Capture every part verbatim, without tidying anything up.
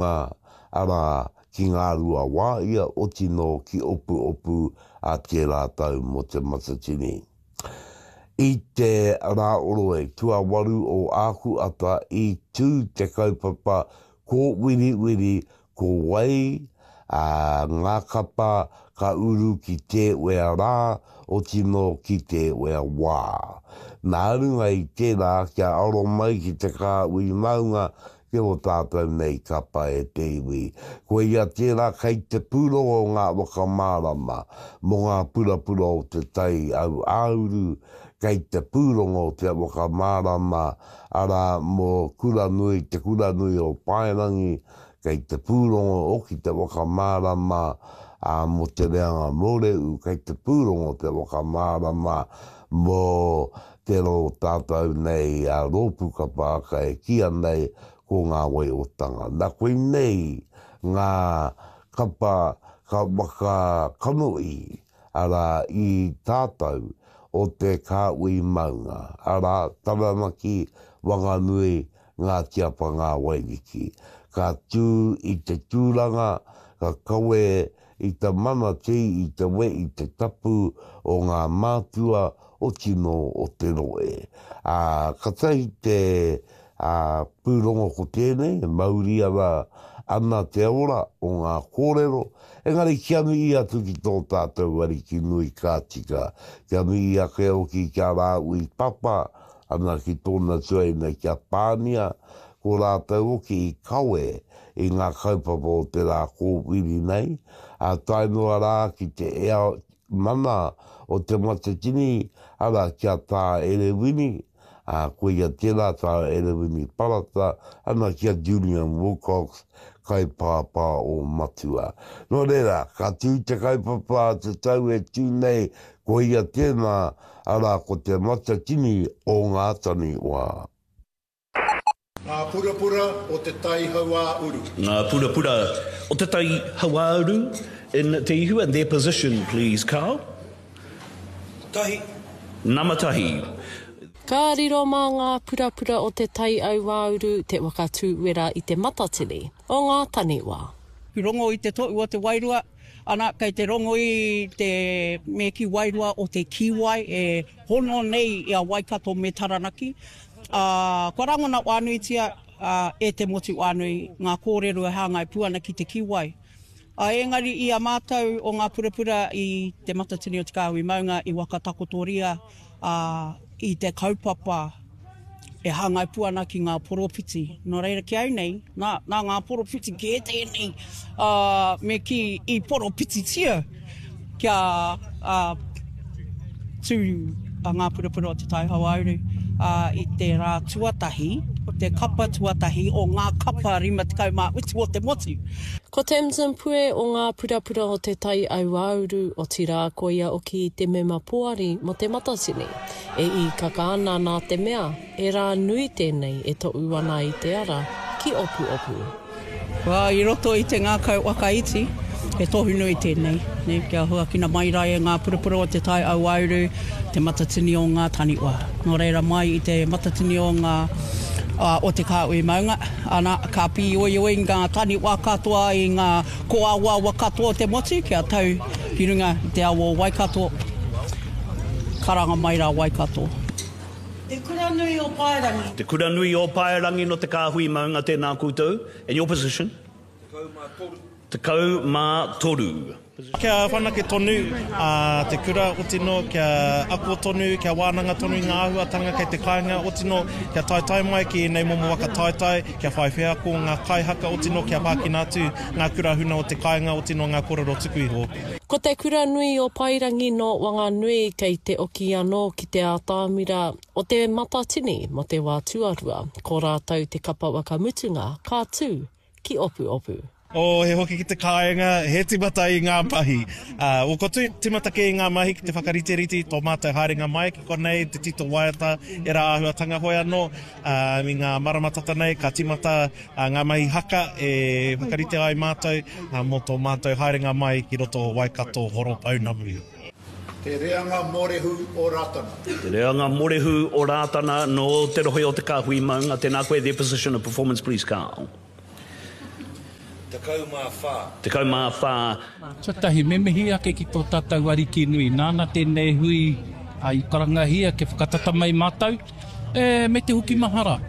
Arā, ki Ngāruawāhia, otinō ki Opuopu a tērā tau mō Te Matatini. I te Rāoroe tuawaru o Ākuata i tū te kaupapa kōwiriwiri ko wai ngā kapa ka uru ki tēwea rā, otinō ki tēwea wā. Nā runga i tērā kia aro mai ki te kāhui maunga ki ō tātou nei kapa e te iwi. Koia tērā kei te pūrongo ngā whakamārama mō ngā purapura o te tai auāuru, kei te pūrongo te whakamārama arā mō Kuranui, Te Kuranui o Paerangi, kei te pūrongo hoki te whakamārama mō Te Reanga Mōrehu, kei te pūrongo te whakamārama mō te rō tātou nei rōpū kapa haka e kīia nei ko Ngā Waiotanga. Nā koinei ngā kapa ka whakakanohi, arā, i tātou o te kāhui maunga, arā, Taranaki, Wanganui, Ngāti Apa, Ngā Wairiki. Ka tū i te tūranga, ka kawe i te mana te i te we i te tapu o ngā mātua o tino o te rohe. Ā, katahi te ā, pūrongo ko tēnei, e mauri ana ana te ora o ngā kōrero, engari kia mihi atu ki tō tātou Ariki nui ka tika, kia mihi ake hoki ki a Rāhui Papa, ana ki tōna tuaina ki a Pānia, ko rātou hoki i kawe i ngā kaupapa o te rā kōwhiri nei, ā, tae noa rā ki te ea mana o Te Matatini, arā, ki a Tā Erewini, ā, koia tērā Tā Erewini Parata, ana ki a Julian Wilcox, kaipāpā o Matua. Nō reira, ka tū te kaupapa a te tau e tū nei, koia tēnā, arā, ko Te Matatini o ngā Taniwha. Ngā purapura o Te Tai Hauāuru. Ngā purapura o Te Tai Hauāuru in Te Ihu and their position please Carl. Tahi. Nama tahi. Ka riro mā ngā purapura o Te Tai Auāuru te waka tūwera i te matatini o ngā taniwha. Rongo i te toʻu o te wairua, ana, kei te rongo i te me kī wairua o te kīwai e hono nei i a Waikato me Taranaki, ā, kua rangona whānuitia e te motu whānui ngā kōrero e hāngai pū ana ki te kīwai. Ā, engari i a mātou o ngā purapura i Te Matatini o Te Kāhui Maunga i whakatakotoria i te kaupapa e hāngai pū ana ki ngā poropiti. Nō reira ki au nei, nā, nā ngā poropiti kē tēnei, ā, me kī i poropititia kia, ā, tū a Ngā Purapura o Te Tai Hauāuru, ā, i te rā tuatahi, o te kapa tuatahi o ngā kapa rima tekau mā whitu o te motu. Ko Tamsin Pue o Ngā Purapura o Te Tai Auāuru, otirā koia oki te mema poari mō Te Matatini, e īkaka ana nā te mea, he rā nui tēnei e toʻu ana i te ara ki Opuopu. Wā, i roto i te ngākau whakaiti, he tohu nui tēnei, nē, kia huakina mai rā e ngā purapura o te tai auauru, te matatini o ngā taniwha. Nō reira, mai i te matatini o ngā, o te kāhui maunga, ana, ka pīoioi ngā taniwha katoa i ngā kōawaawa katoa o te motu kia tau ki runga i te awa o Waikato, karanga mai rā Waikato. Te Kura Nui o Paerangi. Te Kura Nui o Paerangi no Te Kāhui Maunga tēnā koutou. And your position? Tekau mā toru. Tekau mā toru. Kia whanake tonu te kura, otino kia ako tonu, kia wānanga tonu i ngā āhuatanga kei te kāinga, otino kia taetae mai ki ēnei momo waka taetae, kia whai wheako ngā kaihaka, otino kia whākina atu ngā kura huna o te kāinga, otino ngā kōrero tuku iho. Ko Te Kura Nui o Paerangi nō Wanganui kei te oki anō ki te ātamira o Te Matatini mō te wā tuarua. Ko rātou te kapa whakamutunga ka tū ki Opuopu. Oh, he hoki ki te kāinga, he timata i ngā mahi. Uh, o, ko timata kē i ngā mahi ki te whakariterite i tō mātou haerenga mai ki konei, te tito waiata, ērā āhuatanga hoi anō. Uh, i ngā marama tata nei, ka timata Ngā mahi haka e whakarite ai mātou mō tō mātou haerenga mai ki roto o Waikato Horopounamu. Te reanga morehu o Ratana. Te reanga morehu o Ratana nō te rohe o Te Kāhui Maunga. Tēnā koe, their position of performance please Carl. Tekau mā whā. Tekau mā whā. Tuatahi, me mihi ake ki tō tātou Ariki nui, nāna tēnei hui i karangahia kia whakatata mai mātou, e, me te hoki mahara.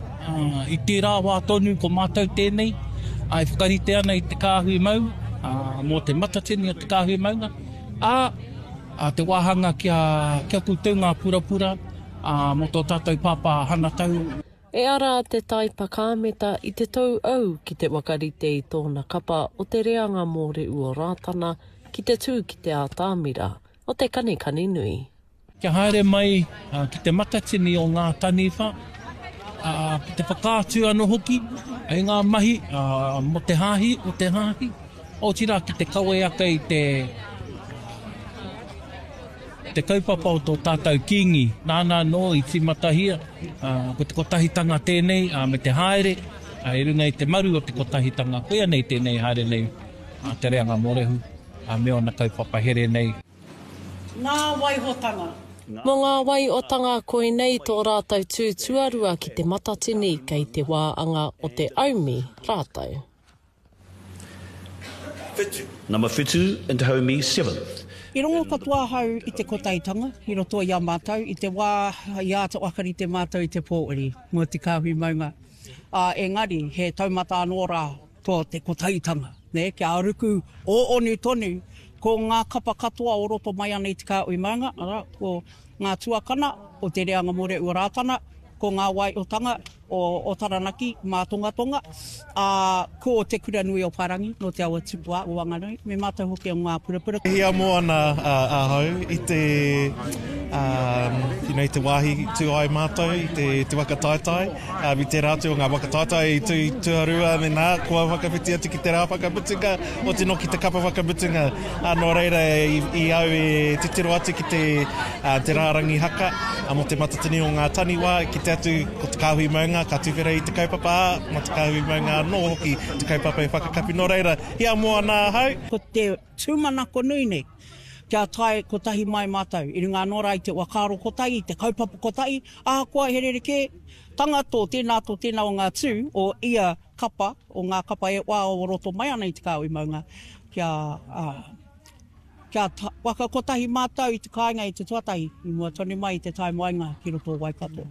I tērā wā tonu ko mātou tēnei, e whakarite ana i te kāhui mau, mō te matatini o te kāhui maunga, ā, te wāhanga kia, kia koutou ngā purapura, ā, mō tō tātou pāpā Hanatau. E ara te tai pakameta i te tou au ki te whakarite i tōna kapa o te reanga Mōrehu o Rātana ki te tū ki te ātamira o te kanikani nui. Kia haere mai ki te matatini o ngā taniwha, ki te whakaatu anō hoki i ngā mahi mō te hāhi o te hāhi, otirā ki te kawe ake i te te kaupapa o tō tātou Kīngi, nāna anō i tīmatahia, ko te kotahitanga tēnei, me te haere i runga i te maru o te kotahitanga, koia nei tēnei haere nei a Te Reanga Mōrehu me ōna kaupapa here nei. Ngā waihotanga. Mō ngā waiotanga koinei tō rātou tū tuarua ki te Matatini kei te wā anga o te aumi rātou. Whitu. Number whitu and Te Haumi seventh. I rongo katoa ahau i te kotahitanga i roto i a mātou i te wā i āta whakarite mātou i te pōuri mō te kāhui maunga, ā, engari he taumata anō rā tō te kotahitanga, nē, kia ruku ōonu tonu ko ngā kapa katoa o roto mai ana i te kāhui maunga, arā, ko ngā tuakana o Te Reanga Mōrehu o Rātana, ko ngā waiotanga o Taranaki mātongatonga, ā, ko Te Kura Nui o Paerangi nō Te Awa Tupua o Wanganui, me mātou hoki o Ngā Purapura. E hiamo ana ahau i te, you know, i te wāhi tū ai mātou i te, te waka taetae, i tērā atu o ngā waka taetae i tū i tuarua me nā, kua whakawhiti atu ki te rā whakamutunga, oti nō ki te kapa whakamutunga. Ā, nō reira i, i au e titiro atu ki te, te rārangi haka mō te matatini o ngā taniwha, kite atu ko te kāhui maunga ka tuwhera i te kaupapa, ā, mā te kāhui maunga anō hoki te kaupapa e whakakapi. Nō reira, hiamo ana ahau. Ko te tūmanako nui nei, kia tae kotahi mai mātou, i runga anō rā i te whakaaro kotahi, i te kaupapa kotahi, ahakoa he rerekē tanga tō tēnā, tō tēnā o ngā tū o ia kapa, o ngā kapa e wā o roto mai ana i te kāhui maunga, kia, ā, Kia waka kotahi mātou i te kāinga i te tuatahi, i mua tonu mai i te tae moenga ki roto o Waikato.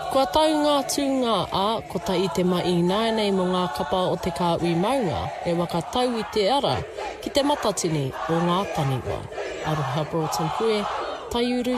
Kua tau ngā tūnga, ā, kotahi te ma ināianei mō ngā kapa o Te Kāhui Maunga e waka tau i te ara ki te matatini o ngā taniwha. Aroha Broughton Pue, Taiuru.